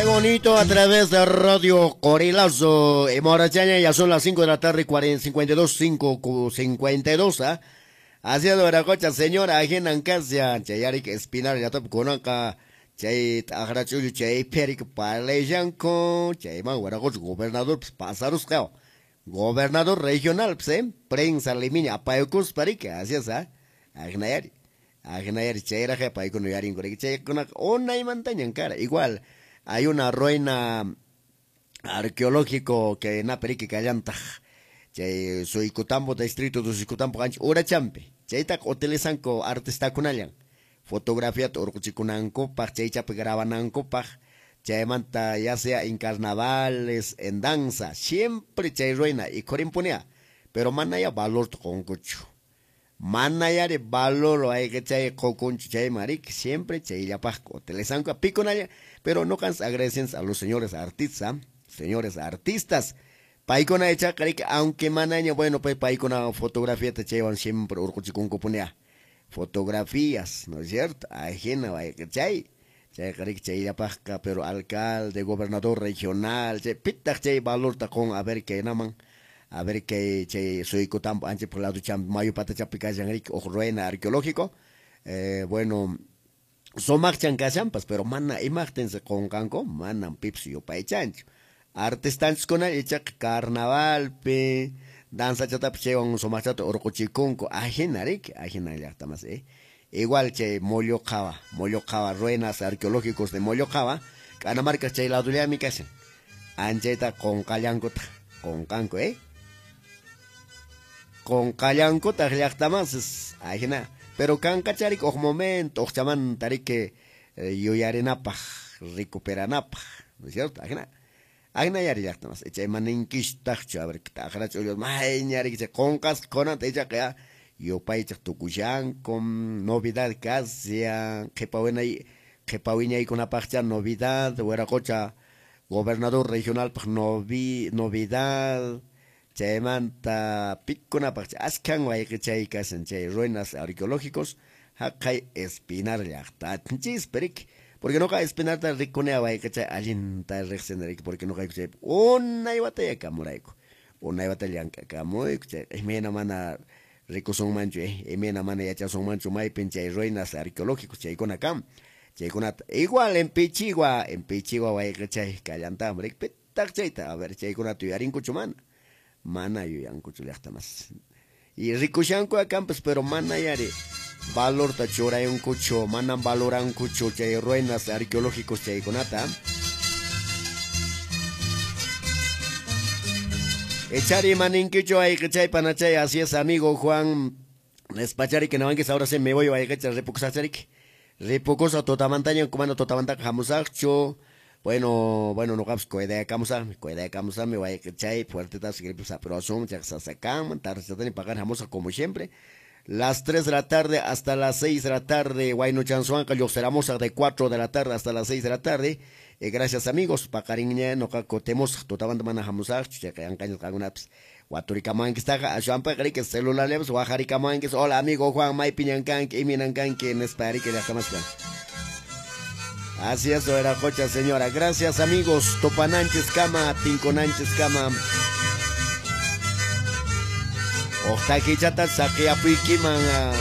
Bonito a través de Radio Corilazo. Y Morachaña, ya son las 5 de la tarde, 40, 52, 5, 52, ¿ah? Hacia Viracocha, señora, ajinan kashan, chayarik Espinar, ya top kunanqa, chay t'aqrach'ullu, chay perik parlashanku, chayman Viracocha gobernador, pues, pasarusqa, gobernador regional, pues, ¿eh? Prensa limiña, apayukuspa, riki, así es, ¿ah? Ajinayari, ajinayari, chayraq paykuna yuyarinko, riki, chaykunaqa unaymantañan kara, igual, hay una ruina arqueológico que naperiki kallantaq, chay Suykutambo, distrito de Suykutambo, ancha urachampi, chaytaqa utilizanku artistakunallan, fotografiata urquchikunankupaq, chaychapi grabanankupaq, chaymanta ya sea en carnavales, en danza, siempre chay ruina ikhurinpunia, pero manaya valor qunkuchu, manayari valor hay chay qukunchu chayman riki, siempre chayllapaq utilizanku pikunalla, pero no cansa agradecen a los señores artistas, paykuna ichaqa riki, aunque manaña, bueno, pues paykuna fotografiata chaywan siempre urquchikunkupunia, fotografías, ¿no es cierto? Ajina chay, chayqa riki chayllapaqqa, pero alcalde, gobernador regional, chay pitaq chay valorta qun, a ver kaynaman, a ver que chay Suykutambo ancha por lado champi, mayu patachapi kashan riki, uj ruina arqueológico, bueno, sumaqchan kashanpas, pero mana imaqtinsi qunqanku, manan pipis yupaychanchu. Artistanchiskuna ichaqa carnavalpi, danzachatapas chaywan sumaqchata urquchikunku, ajina riki, ajina llaqtamas, Igual chay Molloqhawa, Molloqhawa, ruinas arqueológicos de Molloqhawa, K'anamarka chay ladollami kashan. Anchayta qunqallankutaq, qunqanku, Qunqallankutaq llaqtamasis, ajina. Pero kanqacharik uj momento, uqchamanta riki, yuyarinapaq, recuperanapaq, ¿no es cierto? Ajina. Ajina yari llaqtamas, chay maninkishtaqchu, a ver, t'aqrach'ullu, mayña riki chay qunqasqa qunanta ichaqa ya yupaychaq tukushanku, novedad kashan, qhipa winay, qhipa wiñaykunapaqcha novedad, Viracocha gobernador regionalpaq novedad, chaymanta pikunapaqcha askhan wayqichay kashan chay ruinas arqueológicos, haqay Espinar llaqtanchispi riki, porque noqa Espinarta rikunea wayqichay allinta riqsini riki, porque noqayku chaypi unay wataya kamurayku, unay wata llank'akamuyku, chay imayna mana rikusunmanchu, imayna mana yachasunmanchu maypin chay ruinas arqueológicos chaykuna kan, chaykunata igual en Pichigua, en Pichigua wayqichay kallantaqmi riki, pitaq chayta, a ver, chaykunata yuyarinkuchu mana, mana yuyankuchu llaqtamas. Y rikushanku akampas, pero mana yari valorta churayunkuchu, manan valorankuchu chay ruinas arqueológicos chaykunata. Echari maninkichu ayqichay panachay, así es amigo Juan Despachari que nawanquis, ahora sí me voy ayqicha ripukusachariki. Ripukusa tutamantaña kumana tutamantaqa hamusaqchu. Bueno, bueno, noqapas cuidakamusaqmi, cuidakamusaqmi wayqichay, fuertetas gripes aprosun, chaqsasakanman, tardechatani paqarin hamusaq como siempre. Las 3 de la tarde hasta las 6 de la tarde, Huaynuchansuanqa lluqsiramusaq de 4 de la tarde hasta las 6 de la tarde. Gracias amigos, paqarinña noqa kutimosaq, tutamanta mana hamusaqchu, chayqa yanqañas qankunapas waturikamankistaqa, aswanpaqa riki celularllapas wajarikamanquis, hola amigo Juan, maypiñan kanki, iminan kanki, nispa riki llaqtamasqa. Así es, Viracocha, señora. Gracias, amigos. Topananchis kama, tinkonanchis kama. Ojtakichata saqiapuykiman.